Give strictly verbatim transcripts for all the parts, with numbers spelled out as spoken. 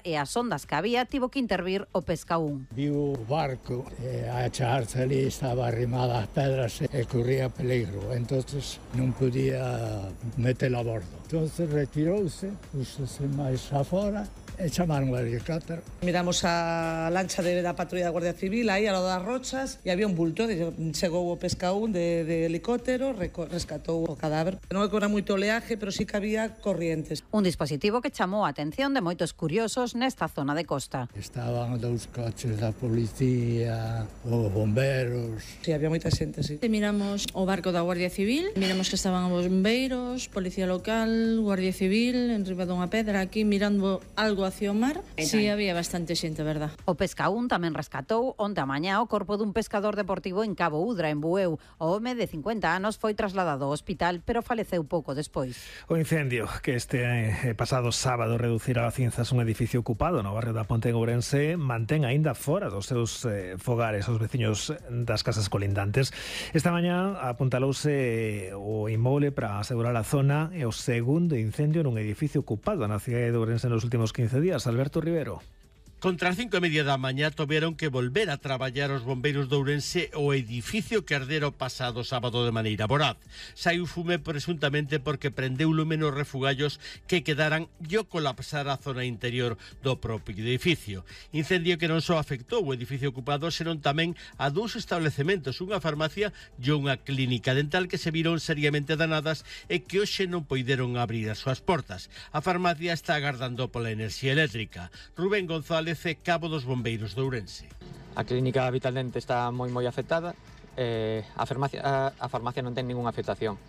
e as ondas que había tivo que intervir o Pescaún. Viu o barco e a acharse ali estaba arrimada ás pedras e corría peligro, entonces non podía metelo a bordo. Entonces retirouse, púsose máis afora e chamaron o helicóptero. Miramos a lancha de, da patrulla da Guardia Civil aí ao lado das rochas e había un bulto, chegou o Pescaún de, de helicóptero, rescatou o cadáver. Non é que era moito oleaje, pero sí que había corrientes. Un dispositivo que chamou a atención de moitos curiosos nesta zona de costa. Estaban dous coches da policía, os bomberos. Sí, había moita xente, sí. Miramos o barco da Guardia Civil, miramos que estaban os bombeiros, policía local, Guardia Civil, en riba dunha pedra, aquí mirando algo hacia o mar. Sí, había bastante xente, verdad. O Pescaún tamén rescatou onte a mañá o corpo dun pescador deportivo en Cabo Udra, en Bueu. O home de cincuenta anos foi trasladado ao hospital, pero faleceu pouco despois. O incendio que este eh, pasado sábado reducira a cinzas un edificio ocupado no barrio da Ponte en Ourense mantén aínda fora dos seus eh, fogares os veciños das casas colindantes. Esta mañá apuntalouse o inmoble para asegurar a zona e o segundo incendio nun edificio ocupado na cidade de Ourense nos últimos quince días. Alberto Rivero. Contra as cinco e media da mañá tiveron que volver a traballar os bombeiros de Ourense o edificio que ardera o pasado sábado de maneira voraz. Saiu fume presuntamente porque prendeu lume nos refugallos que quedaran e o colapsar a zona interior do propio edificio. Incendio que non só afectou o edificio ocupado, senón tamén a dous establecementos, unha farmacia e unha clínica dental que se viron seriamente danadas e que hoxe non poideron abrir as súas portas. A farmacia está agardando pola enerxía eléctrica. Rubén González, cabo dos bombeiros de Ourense. A clínica Vital Dente está moi moi afectada, eh, a, farmacia, a, a farmacia non ten ningunha afectación.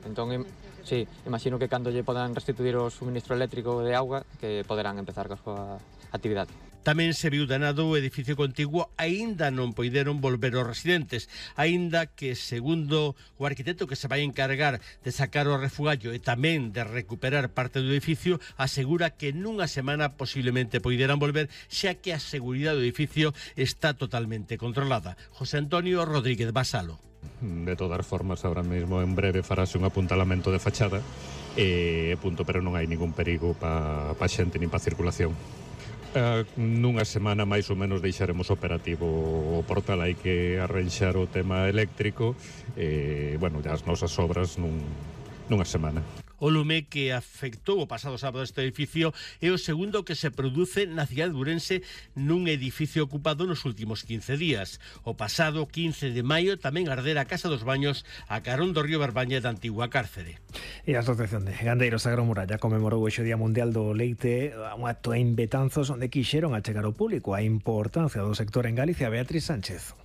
Entón, im, sí, imagino que cando lle podan restituir o suministro eléctrico de auga, que poderán empezar coa súa actividade. Tamén se viu danado o edificio contiguo, aínda non poideron volver os residentes, aínda que, segundo o arquitecto que se vai encargar de sacar o refugallo e tamén de recuperar parte do edificio, asegura que nunha semana posiblemente poideran volver, xa que a seguridade do edificio está totalmente controlada. José Antonio Rodríguez Basalo. De todas formas, ahora mesmo en breve farase un apuntalamento de fachada e punto, pero non hai ningún perigo pa, pa xente nin pa circulación. Uh, nunha semana máis ou menos deixaremos operativo o portal. Hai que arranxar o tema eléctrico e, bueno, as nosas obras nun, nunha semana. O lume que afectou o pasado sábado este edificio é o segundo que se produce na cidade de Ourense nun edificio ocupado nos últimos quince días. O pasado quince de maio tamén ardera a Casa dos Baños a carón do río Barbaña da antigua cárcere. E a Asociación de Gandeiros Agromuralla comemorou o Día Mundial do Leite, un acto en Betanzos onde quixeron achegar ao público a importancia do sector en Galicia. Beatriz Sánchez.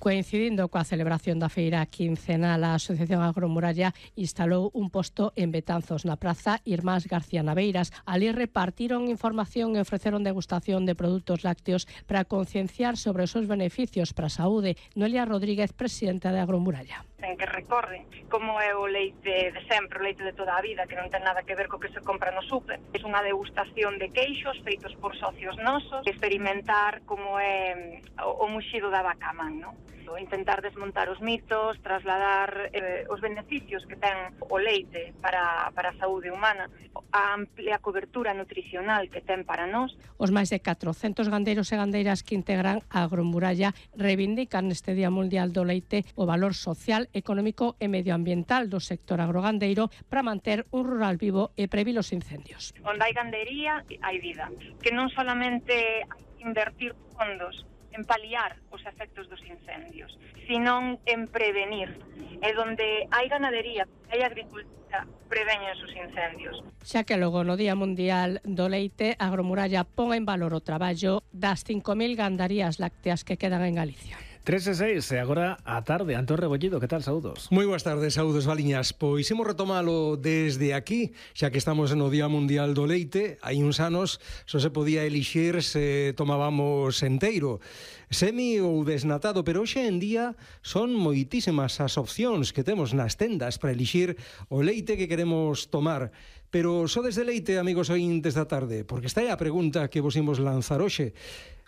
Coincidindo coa celebración da feira quincenal, a Asociación Agromuralla instalou un posto en Betanzos, na praza Irmás García Naveiras. Ali repartiron información e ofreceron degustación de produtos lácteos para concienciar sobre os seus beneficios para a saúde. Noelia Rodríguez, presidenta de Agromuralla. En que recorre como é o leite de sempre, o leite de toda a vida, que non ten nada que ver co que se compra no súper. É unha degustación de queixos feitos por socios nosos, experimentar como é o, o muxido da vaca man, non? Intentar desmontar os mitos, trasladar eh, os beneficios que ten o leite para, para a saúde humana, a amplia cobertura nutricional que ten para nós. Os máis de catrocentos gandeiros e gandeiras que integran a Agromuralla reivindican neste Día Mundial do Leite o valor social, económico e medioambiental do sector agrogandeiro para manter un rural vivo e previr os incendios. Onde hai gandería, hai vida. Que non solamente invertir fondos en paliar os efectos dos incendios, sino en prevenir. E donde hai ganadería, hai agricultura, preveñen os incendios. Xa que logo no Día Mundial do Leite, a Agromuralla pon en valor o traballo das cinco mil gandarías lácteas que quedan en Galicia. tres e seis, e agora a tarde. Antón Rebollido, que tal? Saúdos. Moi boas tardes, saúdos, Valiñas. Pois imos retomalo desde aquí, xa que estamos no Día Mundial do Leite. Hai uns anos só se podía elixir se tomábamos enteiro, semi ou desnatado, pero hoxe en día son moitísimas as opcións que temos nas tendas para elixir o leite que queremos tomar. Pero só desde leite, amigos ointes da tarde, porque esta é a pregunta que vos imos lanzar hoxe.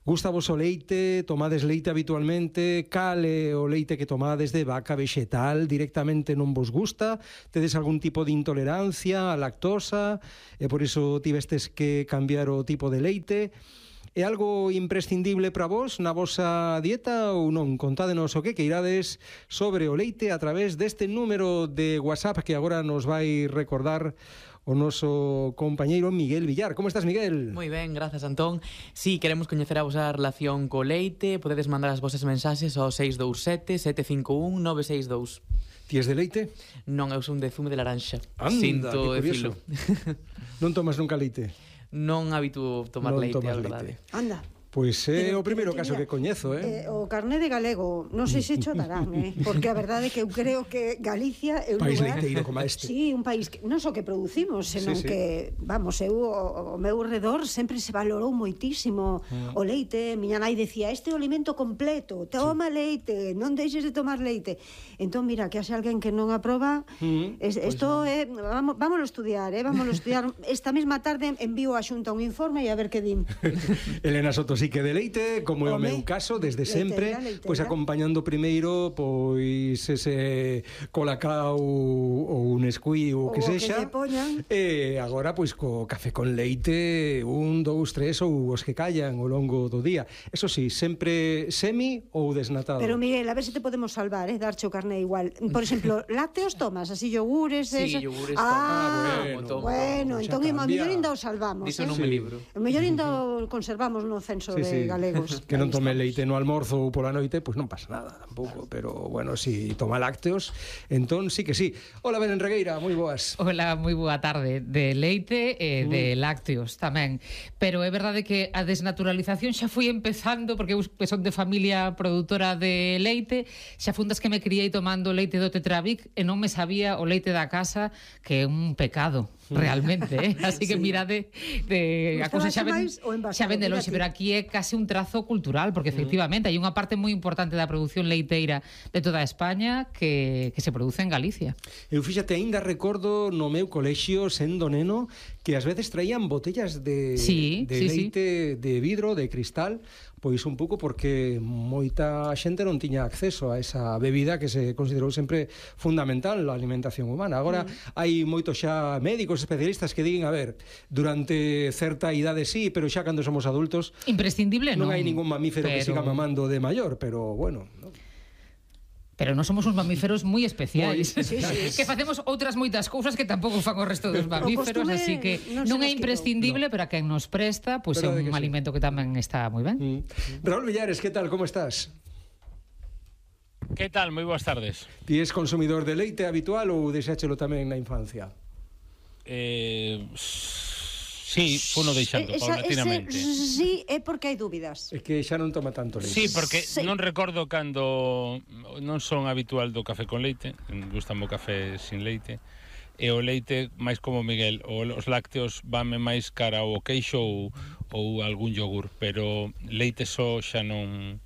Gusta vos o leite? Tomades leite habitualmente? Cal é o leite que tomades de vaca vexetal? Directamente non vos gusta? Tedes algún tipo de intolerancia á lactosa e por iso tivestes que cambiar o tipo de leite? É algo imprescindible para vos na vosa dieta ou non? Contádenos o que queirades sobre o leite a través deste número de WhatsApp que agora nos vai recordar o noso compañeiro Miguel Villar. Como estás, Miguel? Moi ben, grazas, Antón. Si, sí, queremos coñecer a vosa relación co leite. Podedes mandar as vosas mensaxes ao seis dous sete, sete cinco un, nove seis dous. Ti es de leite? Non, eu son de zume de laranxa. Anda, Sinto que curioso. Non tomas nunca leite? Non habituo tomar non leite, a leite. verdade. Anda. Pois é Pero, o primeiro pero, caso mira, que coñezo, eh? eh o carné de galego, non sei se cho darán, eh? Porque a verdade é que eu creo que Galicia é un país lugar... leiteiro como este. Sí, un país que non só que producimos, senón Sí, sí. que, vamos, eu o, o meu redor sempre se valorou moitísimo Mm. o leite. Miña nai decía, este é o alimento completo, toma sí. leite, non deixes de tomar leite. Entón, mira, que haxe alguén que non aproba, Mm. es, Pois esto non. é, vamos, vámonos estudiar, eh? Vámonos estudiar. Esta mesma tarde envío a Xunta un informe e a ver que din. Elena Soto sí que de leite, como é o Home, meu caso, desde leiteira, sempre, leiteira. pois acompañando primeiro pois ese colacao ou un escuí ou Ou que o que sexa. lle poñan. E agora pois co café con leite, un, dous, tres ou os que callan ao longo do día. Eso sí, sempre semi ou desnatado. Pero Miguel, a ver se te podemos salvar, eh, darche o carné igual. Por exemplo, lácteos tomas, así yogures, Sí, esa- yogures Ah, bueno, tomo. bueno, xa entón a cambia. mellor ainda o salvamos, Diso eh? non Sí. me libro. O mellor ainda o conservamos no censo Sí, de sí. galegos. Que non Aí tome estamos. leite no almorzo ou pola noite, pois non pasa nada tampouco, pero bueno, si toma lácteos, entón sí que sí. Hola, Belén Regueira, moi boas. Hola, moi boa tarde. De leite e de lácteos tamén. Pero é verdade que a desnaturalización xa foi empezando, porque eu que son de familia produtora de leite, xa fundas que me criei tomando leite do Tetrabric e non me sabía o leite da casa, que é un pecado, realmente, eh? Así que Sí. mirade, de, a cousa xa ven, máis o envasado, xa ven de mira lonxe, ti. pero aquí é case un trazo cultural, porque efectivamente hai unha parte moi importante da produción leiteira de toda España que, que se produce en Galicia. Eu fíxate, aínda recordo no meu colexio, sendo neno, que ás veces traían botellas de, Sí, de sí, leite de vidro, de cristal, pois un pouco porque moita xente non tiña acceso a esa bebida que se considerou sempre fundamental na alimentación humana. Agora mm. hai moitos xa médicos especialistas que diguen, a ver, durante certa idade sí, pero xa cando somos adultos Imprescindible non. non hai ningún mamífero que pero... siga mamando de maior, pero bueno, ¿no? Pero non somos uns mamíferos moi especiais. Moi especiais. Que facemos outras moitas cousas que tampouco fan o resto dos mamíferos, costume así que non se non é nos imprescindible, no. pero a quen nos presta, pois pues é Verdade un que sí. alimento que tamén está moi ben. Mm. Raúl Villares, que tal, como estás? Que tal? Moi boas tardes. Ti és consumidor de leite habitual ou deixáchelo tamén na infancia? Eh, sí, funo deixando Esa- paulatinamente. ese sí, é porque hai dúbidas. É que xa non toma tanto leite. Sí, porque Sí. non recordo cando non son habitual do café con leite, gustame o café sin leite, e o leite, máis como Miguel, o- os lácteos vanme máis cara ao queixo ou, ou algún yogur, pero leite só xa non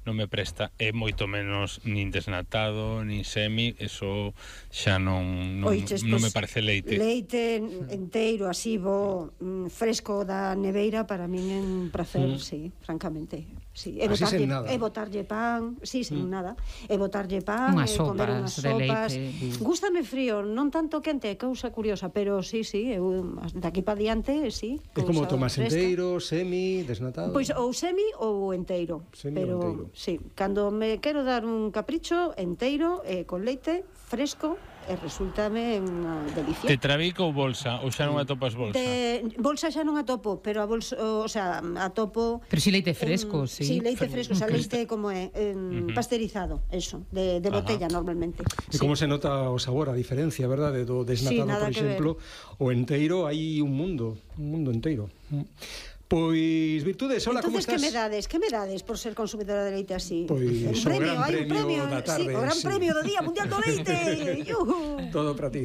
non me presta, e moito menos nin desnatado, nin semi, eso xa non non, Oiches, non pois, me parece leite. Leite enteiro, así, bo, mm, fresco da neveira, para min é un placer, Mm. sí, francamente. Sí, e Así botarlle, sen nada. e botarlle pan, sí, sen Mm. nada. E botarlle pan, Unhas e comer sopas unhas de sopas. leite. Gústame frío, non tanto quente, é cousa curiosa, pero sí, sí, eu daqui pa diante, sí. É como cousa tomas fresca. enteiro, semi, desnatado. Pois ou semi ou enteiro. Semi ou pero enteiro. sí, cando me quero dar un capricho enteiro eh, con leite fresco e resultame unha delicia. Tetrabric ou bolsa? Ou xa non atopas bolsa? De bolsa xa non atopo, pero a bolsa, o sea, atopo Pero si leite fresco, em, sí. Sí, leite fresco, o sea, leite como é, Ujú. em, pasteurizado, eso, de, de Ajá. botella normalmente. E como se nota o sabor, a diferencia, verdade, do desnatado, nada por que exemplo, o enteiro, hai un mundo, un mundo enteiro. Pois, Virtudes, hola, como Entonces, estás? que me dades? Que me dades por ser consumidora de leite así? Pois, un o premio, gran hai un premio premio, da tarde, sí, o gran sí. premio do Día Mundial do Leite. Yuhu. Todo para ti.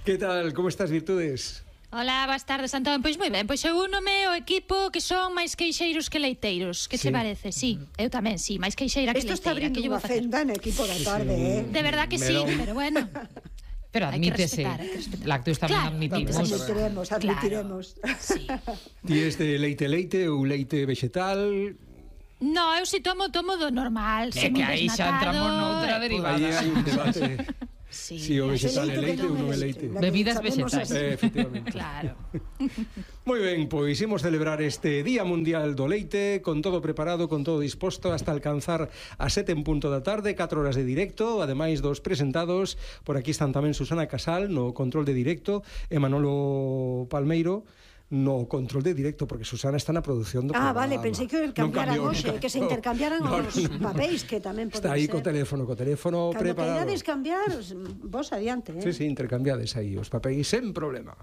Que tal, como estás, Virtudes? Ola, boas tardes, Antón. Pois moi ben, pois eu únome o equipo que son máis queixeiros que leiteiros. Que Sí. che parece? Sí, eu tamén, sí, máis queixeira que Isto está leiteira. abrindo Que lle unha vou facer? fenda no equipo da tarde, eh? De verdad que sí, Melón. pero bueno. Pero Hai que admítese, respetar, hai que respetar. lácteos tamén Claro, admitimos. Admitiremos, admitiremos. Sí. Ti és de leite leite ou leite vegetal? No, eu si tomo, tomo do normal. É que aí xa entramos noutra derivada. Aí hai un debate. Sí, si o vegetal é leite ou non é leite. Bebidas vegetais. Eh, efectivamente. Claro. Moi ben, pois imos celebrar este Día Mundial do Leite con todo preparado, con todo disposto hasta alcanzar a sete en punto da tarde, catro horas de directo, ademais dos presentados. Por aquí están tamén Susana Casal no control de directo e Manolo Palmeiro no control de directo, porque Susana está na produción do ah, programa. vale, pensei que cambiaran no hoxe, cambiou, que se intercambiaran no, os no, no. papéis, que tamén pode Está aí ser. co teléfono, co teléfono Cando preparado. queirades cambiar, vos adiante, eh? Sí, sí, intercambiades aí os papéis sen problema.